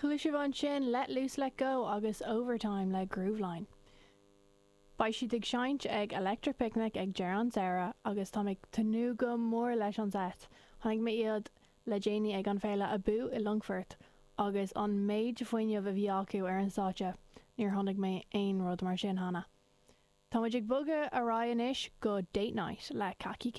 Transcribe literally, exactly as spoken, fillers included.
Chuala sibh ansin Let Loose Let Go agus Overtime le Grooveline. Beidh siad ag seinnt ag Electric Picnic ag deireadh an tsamhraidh agus tá mé ag tnúth go mór leis an set. Chonaic mé iad le déanaí ag an féile Abú i Longfort agus an méid fuinnimh a bhí acu ar an stáitse, níor chonaic mé aon rud mar sin cheana. Tá muid ag bogadh ar aghaidh anois go Date Night le Kaki